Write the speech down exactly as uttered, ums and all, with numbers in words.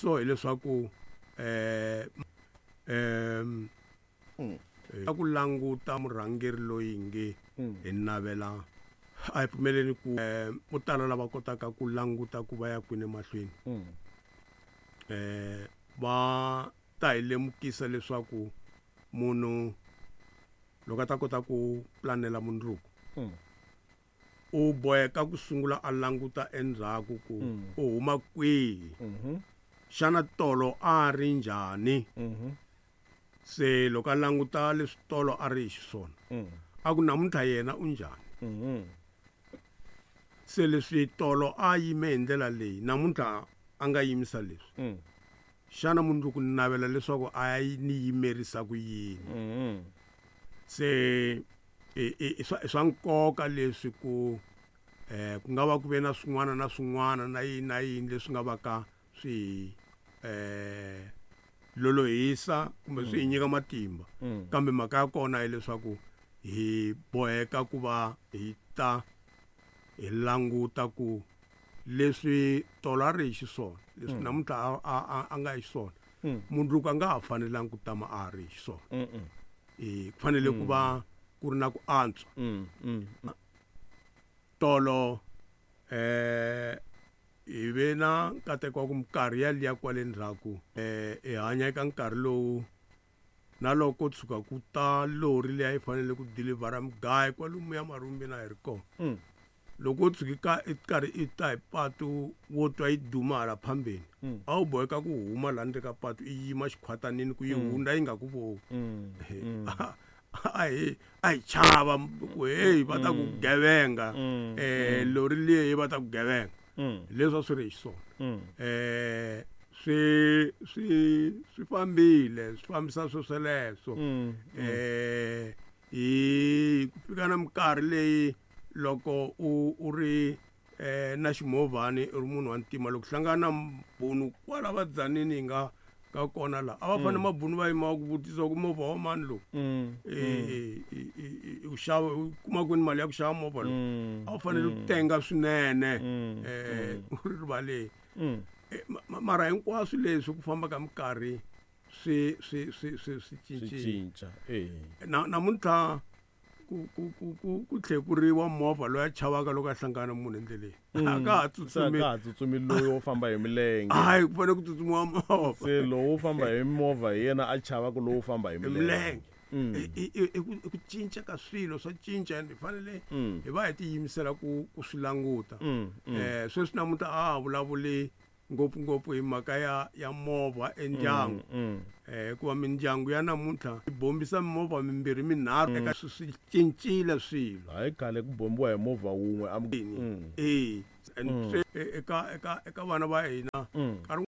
So hileswaku eh em a ku languta murhangeri loyi nge hi navela a hi pfumeleni ku vo tala lava kotaka ku languta ku va ya kwini emahlweni eh va ta hi lemukisa leswaku munhu loko a ta kota ku planela mundzuku u boheka ku sungula a languta endzhaku ku u huma kwihi xana tolo a ri njhani se loko a languta leswi tolo a ri hi xiswona a ku namuntlha yena u njhani se leswi tolo a yime hi ndlela leyi namuntlha a nga yimisa leswi xana mundzuku ni navela leswaku a ya ni yimerisa ku yini se i swa swa nkoka leswi ku eh ku nga va ku ve na swin'wana na swin'wana na yini na yini leswi nga va ka swi eh lolohisa kumbe swi hi nyika matimba kambe mhaka ya kona hileswaku hi boheka ku va hi ta hi languta ku leswi tolo a ri hi xiswona leswi namuntlha a a a nga hi xiswona mundzuku a nga ha fanelangi ku tama a ri hi xiswona eh ku fanele ku va ku ri na ku antswa tolo eh hi ve na nkateko wa ku minkarhi yaliya kwale ndzhaku eh hi hanya eka nkarhi lowu na loko tshuka ku ta lori leyi a yi fanele ku dilivhara mugayo kwalomuya marumbeni a hi ri kona loko u tshuki ka i karhi i ta hi patu wo twa yi duma hala phambeni a wu boheka ku huma laha ndzeni ka patu i yima xikhwatanini ku yi hundza yi nga ku voni a hi a hi chava ku heyi va ta ku gevenga eh lori leyi va ta ku gevenga leswi a swi ri hi xiswona eh swi swi swi fambile swi fambisa swo sweleswo eh hi ku fika na minkarhi leyi loko u u ri eh na ximovhani u ri munhu wa ntima loko hlangana na mabunu kwala vadzanini hi nga ka kona laha a va fanele mabunu va yima va ku vutisa ku movha wa mani lowu eh u xava u kuma kwini mali ya ku xava movha lowu a wu fanele ku tenga swinene eh u ri rivaleni mara hinkwaswo leswi ku famba ka minkarhi swi swi swi swi swi cincile cinca eh na namuntlha ku ku ku ku ku tlhekuriwa movha loyi a chavaka loko a hlangana munhu endleleni a ka ha se a tsutsumi ka ha tsutsumi loyi wo famba hi milenge hayi ku fanele ku tsutsumiwa movha se lowo famba hi movha hi yena a chavaka lowo famba hi hi milenge milenge I- i i- i ku i ku cinca ka swilo swa cinca and hi fanele hi va hi tiyimisela ku ku swi languta eh sweswi namuntlha a ha vulavuli ngopfungopfu hi mhaka ya ya movha endyangu eh hikuva mindyangu ya namuntlha yi bombisa mimovha mimbirhi minharhu eka swi swi cincile swilo hayi khale ku bombiwa hi movha wun'we a eh and swe- e- eka eka eka vana va hina nkarhi